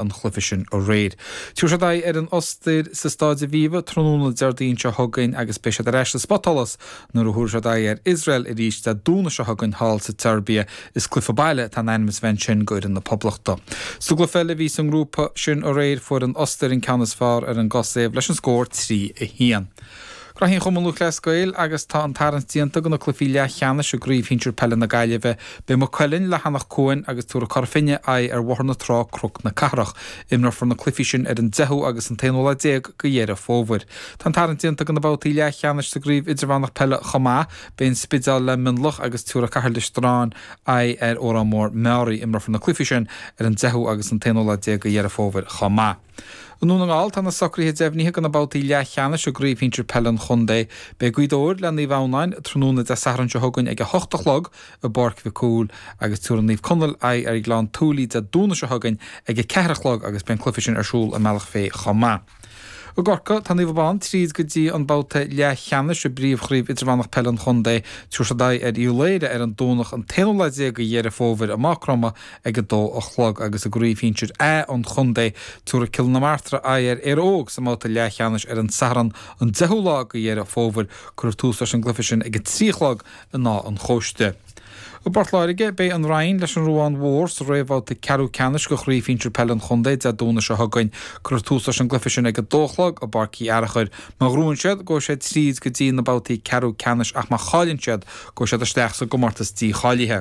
An chluiche sin aréir. Tabharfaidh siad aghaidh ar an Ostair sa Staid Aviva tráthnóna Déardaoin seo chugainn agus beidh siad ar ais sa spotsholas nuair a thabharfaidh siad aghaidh ar Iosrael arís Dé Domhnaigh seo chugainn thall sa tSeirbia. Is cluiche baile atá in ainm is a bheith ansin go fhoireann na Poblachta. Sa gcluiche eile a bhí sa ngrúpa sin aréir fuair an Ostair an ceann is fearr ar an gCosaiv leis an scór 3, 1. Graithí an Chumann Lúthchleas Gael agus tá an tarraingt déanta do na cluichí leathcheannais i gCraobh Shinsir Peile na Gaillimhe. Beidh Maigh Cuilinn le hAnach Cuain agus tabharfaidh Cora Finne aghaidh ar Bhóthar na Trá Cnoc na Cathrach. Imreofar na cluichí sin ar an 10ú agus an t-aonú lá déag de Dheireadh Fómhair. Tá an tarraingt déanta do na babhtaí leathcheannais sa gCraobh Idirmheánach Peile chomh maith. Beidh an Spidéal le Mionlach agus tabharfaidh Cathair Loistreáin aghaidh ar Órán Mór Meáraí. Imreofar na cluichí sin ar an 10ú agus an t-aonú lá déag de Dheireadh Fómhair chomh maith. I nDún na nGall, tá na socruithe deimhnithe do na babhtaí leathcheannais i gCraobh Shinsir Peile an Chontae. Beidh Gaoth Dobhair le Naomh Adhamhnáin tráthnóna Dé Sathairn seo chugainn ag 8 a chlog i bPáirc Mhic Cumhaill agus tabharfaidh Naomh Conaill aghaidh ar Ghleann tSúilí Dé Domhnaigh seo chugainn ag 4 a chlog agus beidh an cluiche sin ar siúl i mBealach Féich chomh maith. I gCorcaigh, tá Naomh Abán tríd go dtí an babhta leathcheannais i bPríomhchraobh Idirmheánach Peile an Chontae. Tabharfaidh siad aghaidh ar Uíbh Laoghaire ar an Domhnach an t-aonú lá déag de Dheireadh Fómhair i Maigh Chromtha ag 2 a chlog agus i gCraobh Shinsir A an Chontae, tabharfaidh Cill na Martra aghaidh ar Éire Óg sa mbabhta leathcheannais ar an Satharn an 10ú lá de Dheireadh Fómhair. Cuirfear tús leis an gcluiche sin ag 3 a chlog in Áth an Chóiste. I bPort Láirge, beidh an Rinn leis an Ruán Mhór sa réamhbhabhta ceathrú ceannais de Chraobh Shinsir Peile an Chontae Dé Domhnaigh seo chugainn. Cuirfear tús leis an gcluiche sin ag 2 a chlog i bPáirc Uí Fhearchair. Má ghnóthaíonn siad, gabhfaidh siad tríd go dtí na babhtaí ceathrú ceannais ach má chailleann siad, gabhfaidh siad isteach sa gcomórtas dícháilithe.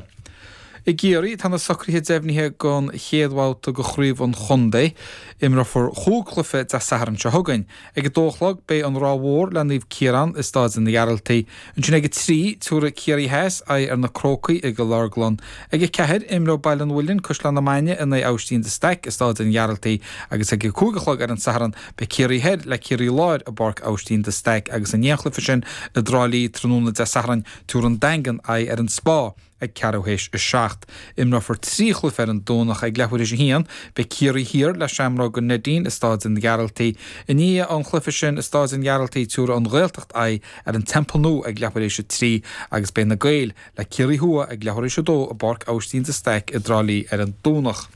I gCiarraí, tá na socruithe deimhnithe don chéad bhabhta de chraobh an chontae. Imreofar chúig chluiche Dé Sathairn seo chugainn. Ag 2 a chlog, beidh an Ráth Mhór le Naomh Ciarán i Stáid an Ghearaltaigh. Ansin ag 3, tabharfaidh Ciarraí Theas aghaidh ar na Crócaigh i gCill Orglan. Ag 4, imreoidh Baile an Mhuilinn, Caisleán na Mainge in aghaidh Aibhistín de Staic i Stáid an Ghearaltaigh agus ag 5 a chlog ar an Satharn, beidh Ciarraí Thoir le Ciarraí Láir i bPáirc Aibhistín de Staic agus an t-aon chluiche sin i dTrá Lí tráthnóna Dé Sathairn, tabharfaidh an Daingean aghaidh ar an Spá. Ag ceathrú théis 7. Imreofar 3 chluiche ar an Domhnach ag leathuair théis 1. Beidh Ciarraí Thiar le Seamróg an Neidín i Stáid an Ghearaltaigh. I ndiaidh an chluiche sin i Stáid an Ghearaltaigh tabharfaidh an Ghaeltacht aghaidh ar an Teampall Nua ag leathuair théis 3 agus beidh na Gaeil le Ciarraí Thuaidh ag leathuair théis 2 i bPáirc Aibhistín de Staic i dTrá Lí ar an Domhnach.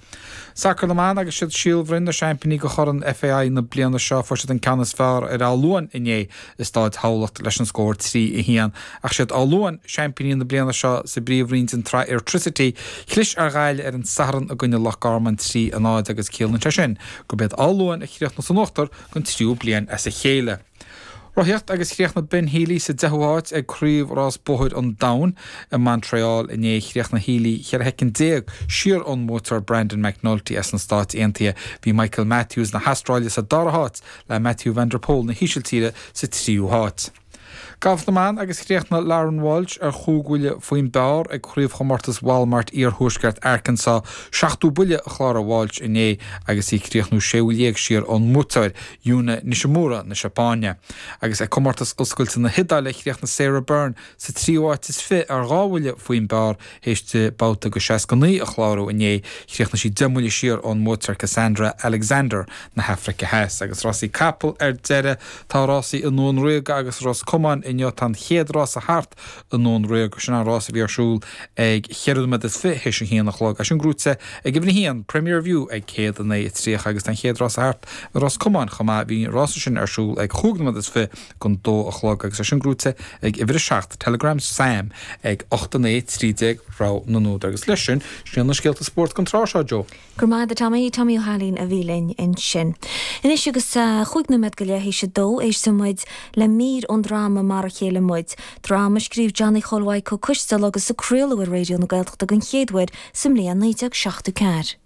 Sacar na mBan agus siad Síol Bhroin na seaimpíní de Chorn FAI na bliana seo. Fuair siad an ceann is fearr ar Áth Luain inné i Stáid Thamhlacht leis an scór 3, 1. Ach siad Áth Luain seaimpíní na bliana seo sa bpríomhroinn den tsraith Airtricity. Chlis ar Ghaillimh ar an Satharn i gcoinne Loch Garman 3, 0 agus ciallaíonn sé sin gurb iad Áth Luain a chríochnaigh san uachtar don tríú bliain as a chéile. Rothaíocht agus chríochnaigh Ben Healy sa deichiú háit ag Craobh Rás Bóthair an Domhain i Montréal inné. Chríochnaigh Healy 14 shoicind siar ón mbuaiteoir Brandon McNulty as na Stáit Aontaithe. Bhí Michael Matthews na hAstráile sa dara háit le Mathieu van der Poel na hÍsiltíre sa tríú háit. Galf na mBan agus chríochnaigh Lauren Walsh ar chúig bhuille faoin bpar ag Craobhchomórtas Walmart Iarthuaisceart Arkansas. Seachtó buille a chláraigh Walsh inné agus í ag críochnú sé bhuille dhéag siar ón mbuaiteoir. Yuna Nishimura na Seapáine. Agus ag Comórtas Oscailte na hIodáile, chríochnaigh Sarah Bern sa tríú háit is fi ar dhá bhuille faoin bpar théis di babhta de 69 a chlárú inné. Chríochnaigh sí 10 mbuille siar ón mbuaiteoir Cassandra Alexander na hAfraice Theas. Agus rásaí capall ar deireadh, tá rásaí i nDún Ríoga agus Ros Comáin inniu. Tá an chéad rása thart i nDún Ríoga. Sin an rás a bhí ar siúl ag cheithre nóiméad is fi théis a haon a chlog. É sin gnóite ag uimhir a haon, Premier View ag 109.30 agus tá an chéad rása thart i Ros Comáin chomh maith. Bhí an rása sin ar siúl ag chúig nóiméad is fi gon dó a chlog agus é sin gnóite ag uimhir a 7, Telegram Sam ag 8 9 13 Rogha na n-údar. Agus leis sin, sin iad na scéalta spóirt don tráth seo, Joe. Go raibh maith agat a Tommy, Tommy Ó hAilín a bhí linn ansin. Anois agus chúig nóiméad go leith théis a dó, éistfidh muid le mír ón dráma Mar a Chéile Muid, dráma a scríobh Johnny Chóil Mhaidhc Ó Coistealbha agus a craoladh ar Raidió na Gaeltachta den chéad uair sa mbliain 1974.